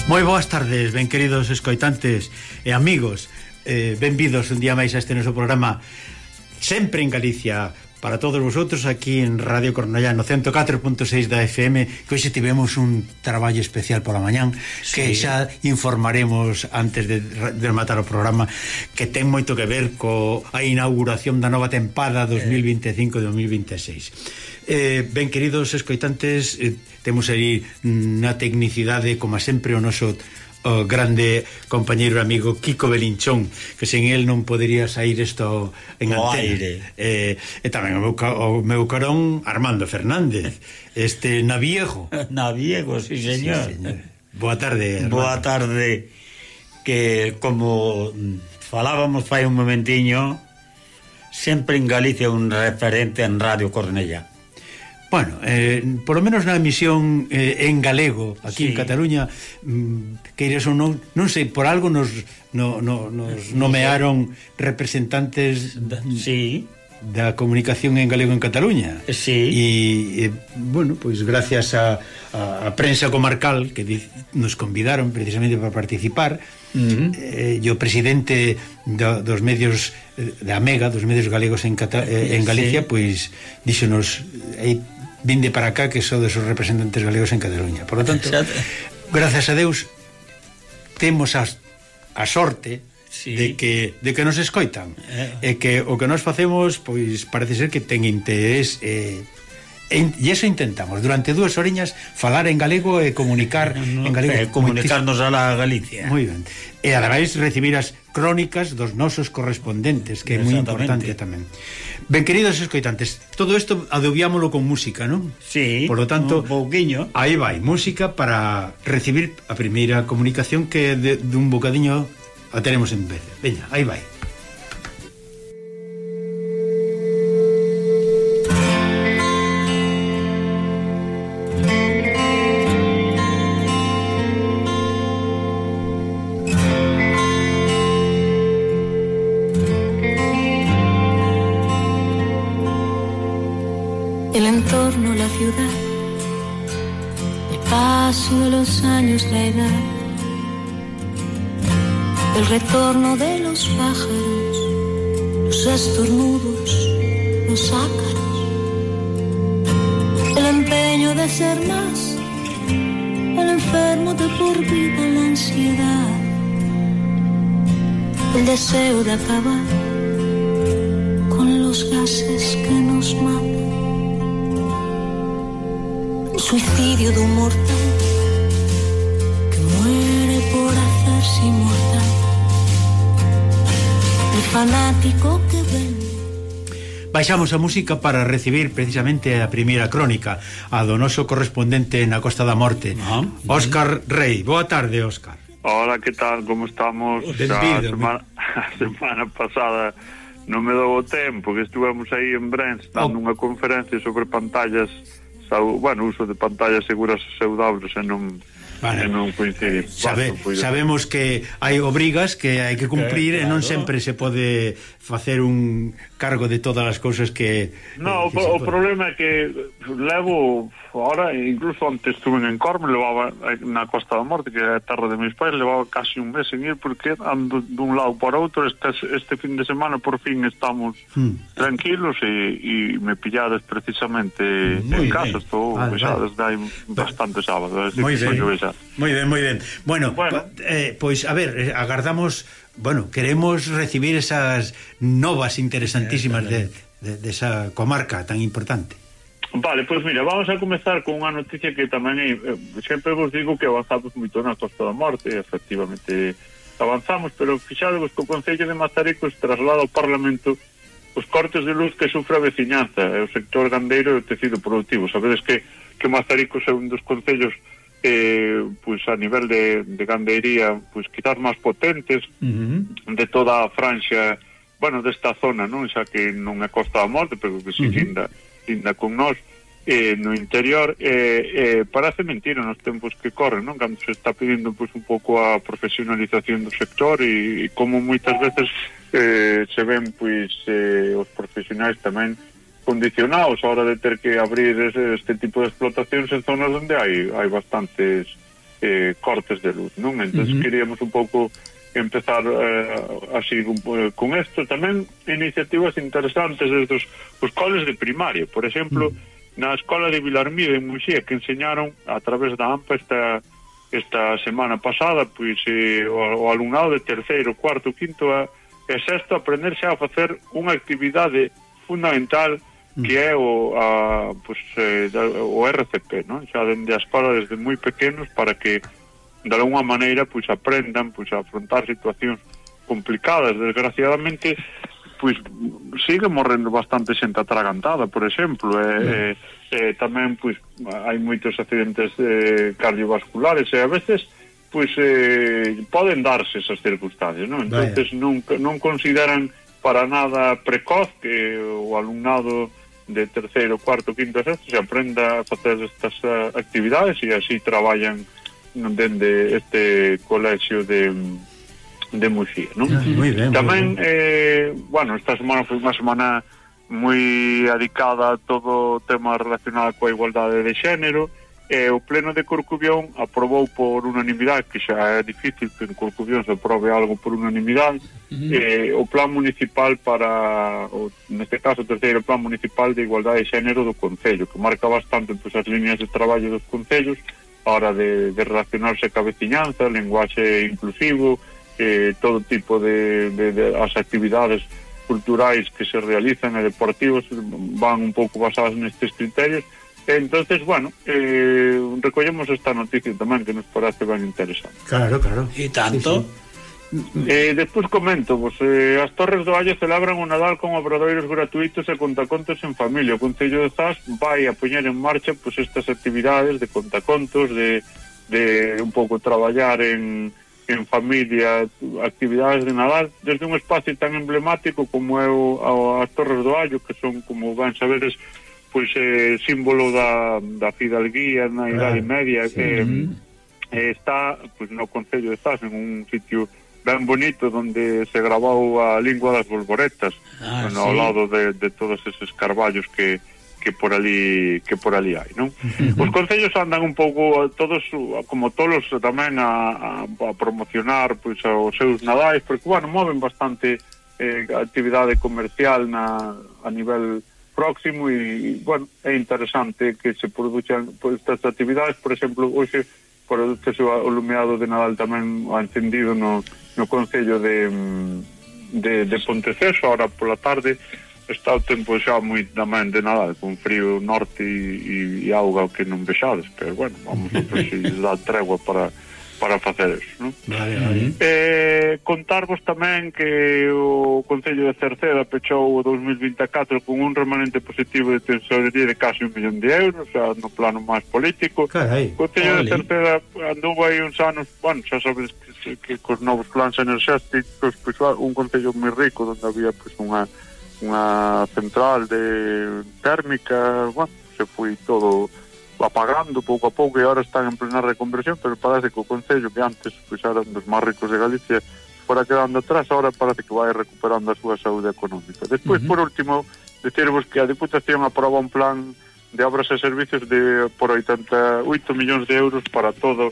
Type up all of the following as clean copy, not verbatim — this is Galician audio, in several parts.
Moi boas tardes, ben queridos escoitantes e amigos, benvidos un día máis a este noso programa sempre en Galicia para todos vosotros aquí en Radio Cornellá no 104.6 da FM, que hoxe tivemos un traballo especial pola mañán, que xa informaremos antes de matar o programa, que ten moito que ver coa inauguración da nova tempada 2025-2026. Ben queridos escoitantes, temos aí na tecnicidade como sempre o noso o grande compañeiro e amigo Kiko Belinchón, que sen el non podería sair isto en antena. E tamén o meu carón Armando Fernández, este Naviejo. Naviejo, sí señor. Sí, señor. Boa tarde, Armando. Boa tarde, que como falábamos fai un momentiño, sempre en Galicia un referente en Radio Cornellá. Bueno, por lo menos na emisión en galego aquí en Cataluña, que eres ou non sei, por algo nos nomearon representantes da comunicación en galego en Cataluña. E bueno, pois gracias a prensa comarcal que nos convidaron precisamente para participar, e o presidente dos medios da Mega, dos medios galegos en Galicia, pois díxonos: vinde para acá que sodes os representantes galegos en Cataluña. Por lo tanto, gracias a Deus temos a sorte de que nos escoitan, e que o que nos facemos pois parece ser que ten interés, e iso intentamos durante 2 horiñas falar en galego e comunicar en galego, comunicarnos a la Galicia. Moi ben. E ademais recibir as crónicas dos nosos correspondentes, que é moi importante tamén. Ben queridos escoitantes, todo isto adobiámolo con música, non? Sí, por lo tanto, un pouquiño. Aí vai, música para recibir a primeira comunicación, que dun bocadiño a teremos en vez. Veña, aí vai. El entorno, la ciudad, el paso de los años, la edad, el retorno de los pájaros, los estornudos, los ácaros, el empeño de ser más, el enfermo de por vida, la ansiedad, el deseo de acabar con los gases que nos matan. Suicidio de un mortal que muere por hacerse inmortal. El fanático que vende. Baixamos a música para recibir precisamente a primeira crónica, a do noso correspondente na Costa da Morte, Óscar Rei. Boa tarde, Óscar. Hola, que tal? Como estamos? A semana pasada non me dou o tempo, que estuvemos aí en Brens dando unha conferencia sobre pantallas, uso de pantallas seguras e saudables, e non coincide. Sabemos que hai obrigas que hai que cumprir, e non sempre se pode facer un cargo de todas as cousas que... No, o problema é que levo ahora, incluso antes estuve en Corme, levaba na Costa da Morte, que é a terra de meus pais, levaba casi un mes en ir, porque ando dun lado para outro. Este fin de semana por fin estamos tranquilos, e me pillades precisamente en casa. Estou xa desde hai bastante sábado. Moi ben. Bueno, pois a ver, agardamos, queremos recibir esas novas interesantísimas de esa comarca tan importante. Vale, pois mira, vamos a comezar con unha noticia que tamén sempre vos digo que avanzamos moito na Costa da Morte. Efectivamente avanzamos, pero fixadevos que o Concello de Mazaricos traslada ao Parlamento os cortes de luz que sufre a veciñanza e o sector gandeiro e o tecido productivo. Sabedes que Mazaricos é un dos concellos pois a nivel de gandeiría, pois quizás máis potentes de toda a franxa, desta zona, non? Xa que non é Costa da Morte, pero que si linda con nós, no interior. Parece mentira nos tempos que corren, non? Cando se está pedindo pois un pouco a profesionalización do sector, e como moitas veces se ven pois os profesionais tamén condicionados a hora de ter que abrir este tipo de explotacións en zonas onde hai bastantes cortes de luz, non? Entón queríamos un pouco empezar así con isto. Tamén iniciativas interesantes desde os coles de primaria, por exemplo, na escola de Vilarmío en Muxía, que enseñaron a través da AMPA esta semana pasada, pois o alumnado de terceiro, cuarto, quinto e sexto aprender xa a facer unha actividade fundamental que é o RCP, non? Xa dende a escola desde moi pequenos, para que de alguna maneira pois aprendan pois a afrontar situacións complicadas. Desgraciadamente pois sigue morrendo bastante xente atragantada, por exemplo, tamén pois hai moitos accidentes cardiovasculares e a veces pois poden darse esas circunstancias, non? Entonces non consideran para nada precoz que o alumnado de terceiro, cuarto, quinto, sexto se aprenda a facer estas actividades e así traballan dende este colexio de Muxía, non? Moi ben. Tamén, bueno, esta semana foi unha semana moi dedicada a todo o tema relacionado coa igualdade de xénero, e o Pleno de Corcubión aprobou por unanimidade, que xa é difícil que en Corcubión se aprobe algo por unanimidade, o plan municipal para, neste caso, o terceiro plan municipal de igualdade de xénero do Concello, que marca bastante pois, as líneas de traballo dos concellos a hora de relacionarse ca veciñanza, lenguaxe inclusivo, todo tipo de as actividades culturais que se realizan e deportivos van un pouco basadas nestes criterios. Entonces, bueno, recollemos esta noticia tamén que nos parece ben interesante. Claro. E tanto? Despois comento, as Torres do Allo celebran o Nadal con obradoiros gratuitos e contacontos en familia. O Concello de Zas vai a poñer en marcha pois estas actividades de contacontos, de un pouco traballar en familia, actividades de Nadal, desde un espacio tan emblemático como é as Torres do Allo, que son, como van saberes, pois símbolo da fidalguía na Idade Media, está pois no Concello de Zas, en un sitio ben bonito onde se grabou a lingua das bolboretas, ao lado de todos eses carballos que por ali hai, non? Os concellos andan un pouco todos como tolos tamén a promocionar pois os seus nadais, porque bueno, moven bastante actividade comercial a nivel próximo e bueno, é interesante que se produzan pois estas actividades. Por exemplo, hoxe produce o lumeado de Nadal tamén encendido no concello de Ponteceso. Ahora pola tarde está o tempo xa moi tamén de Nadal, con frío norte e auga que non vexades, pero bueno, vamos a ver se dá tregua para facer eso, non? Vale. Contarvos tamén que o Concello de Cerceda pechou o 2024 con un remanente positivo de tesorería de casi 1 millón de euros, xa no plano máis político. Carai. O Concello de Cerceda andou aí uns anos, bueno, xa sabes que cos novos plans enerxéticos, pois un concello moi rico, onde había pois unha central de térmica, bueno, se foi todo apagando pouco a pouco e agora están en plena reconversión, pero parece que o concello que antes pois eran dos máis ricos de Galicia fora quedando atrás, agora parece que vai recuperando a súa saúde económica. Despois, por último, decirvos que a Diputación aproba un plan de obras e servicios por 88 millóns de euros para todo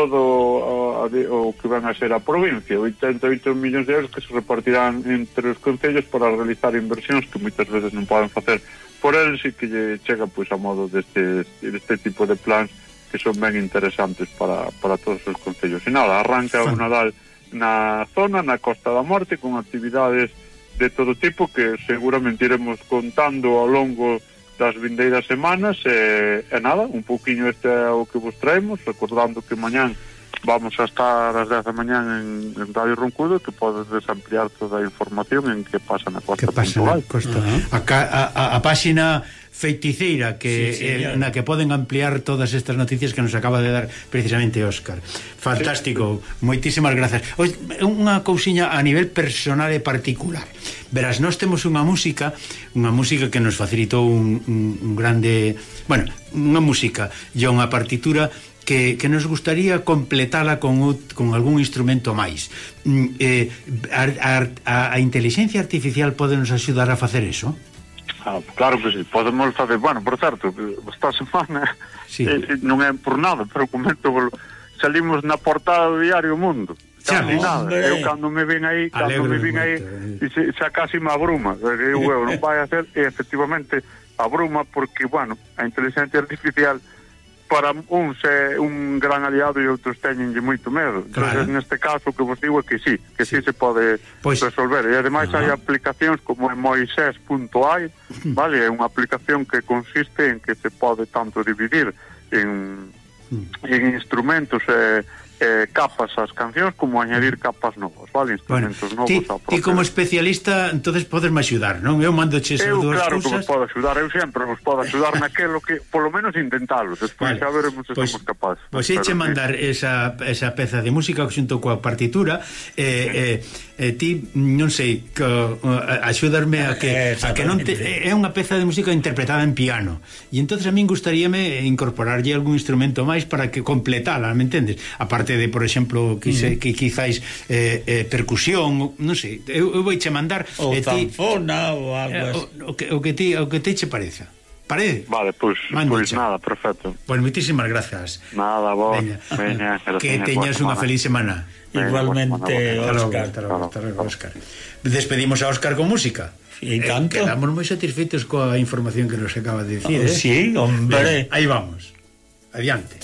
o que van a ser a provincia, 88 millóns de euros que se repartirán entre os concellos para realizar inversións que moitas veces non poden facer por eles e que lle chega pois a modo deste tipo de plans que son ben interesantes para todos os concellos. E nada, arranca o Nadal na zona, na Costa da Morte, con actividades de todo tipo que seguramente iremos contando ao longo das vindeiras semanas e nada, un pouquiño este é o que vos traemos, recordando que mañán vamos a estar ás 10 da mañán en Radio Roncudo, que podes ampliar toda a información en que pasa na Costa Puntual. A páxina feiticeira na que poden ampliar todas estas noticias que nos acaba de dar precisamente Óscar. Fantástico, moitísimas grazas. Unha cousiña a nivel personal e particular. Verás, nós temos unha música que nos facilitou un grande, bueno, unha música e unha partitura que nos gustaría completala con algún instrumento máis. A inteligencia artificial pode nos axudar a facer eso? Claro que sí, podemos facer, bueno, por certo, esta semana non é por nada, pero comento, salimos na portada do diario Mundo. Casi nada. Eu cando me ven aí, xa casi me abruma. Eu non vai a ser, e efectivamente abruma porque, bueno, a inteligencia artificial para uns é un gran aliado e outros teñenlle moito medo. Claro. Entón, neste caso, o que vos digo é que sí se pode resolver. E ademais hai aplicacións como Moisés.ai, vale? É unha aplicación que consiste en que se pode tanto dividir en instrumentos capas as cancións como añadir capas novas, vale? Instrumentos novos. Ti como especialista entonces podesme axudar, non? Eu mando che esas dúas claro cousas. Que vos podo axudar, eu sempre vos podo axudar naquelo que, polo menos intentalo, despois xa veremos se somos capaces. Pois eche mandar esa peza de música xunto coa partitura, ti non sei, axudarme a que non é unha peza de música interpretada en piano, e entonces a min gustaríame incorporarlle algún instrumento máis para que completala, me entendes? Aparte de, por exemplo, que quizáis percusión, non sei, eu vouche mandar ou zanfona ou algo o que te che pareza. Parece? Vale, pois nada, perfecto. Pois moitísimas grazas. Nada, vos. Veña, que teñas unha feliz semana. Igualmente, Óscar. Hasta logo, Óscar. Despedimos a Óscar con música. E tanto. Quedamos moi satisfeitos coa información que nos acaba de dicir. Sí, hombre. Aí vamos. Adiante.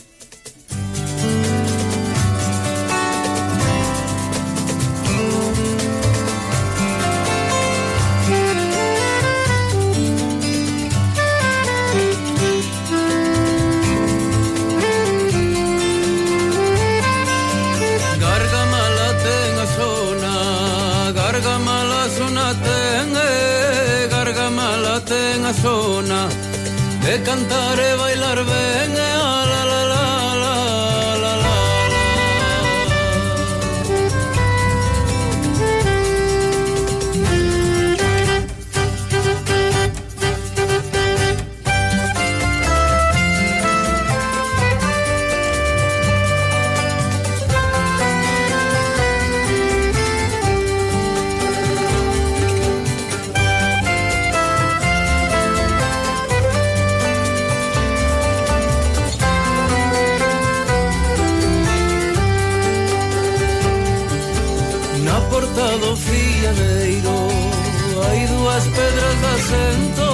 Zona de cantar e bailar ben la la la la la la. Do fiadeiro hai dúas pedras de acento,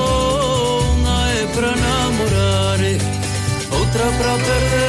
unha é pra namorar, outra pra perder